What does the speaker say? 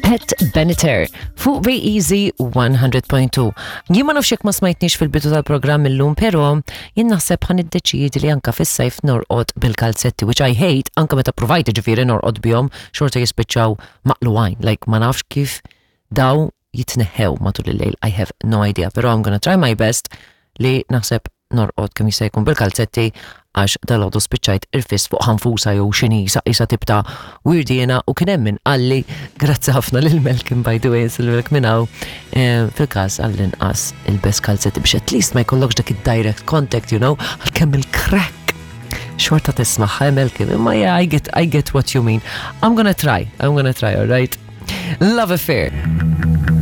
Pat Benatar fuq Be Easy 100.2. Jien ma nafx jekk ma smajtniex fil-bidu tal-programm illum, però jien naħseb ħan iddeċiedi li anka fis-sajf norqod bil-kalzetti, which I hate, anka meta provajt ġifieri norqod bihom, xorta jispiċċaw maqluwajn, like ma nafx kif daw jitneħħew matul il-lejl, I have no idea, però I'm gonna try my best li naħseb norqod kemm jista' jkun bil-kalzetti għax dalgħodu spiċċajt irfist fuq ħanfusa jew x'inhi isa tip ta' wirdiena u kien hemm min qalli grazzi ħafna lil Malcolm by the way insilmilek minn hawn eh, fil-każ għall-inqas ilbes kalzetti biex at least ma jkollokx dak id-direct contact you know għalkemm il-crack xorta tismaħħa Malcolm imma yeah I get, I get what you mean I'm gonna try I'm gonna try all right Love Affair.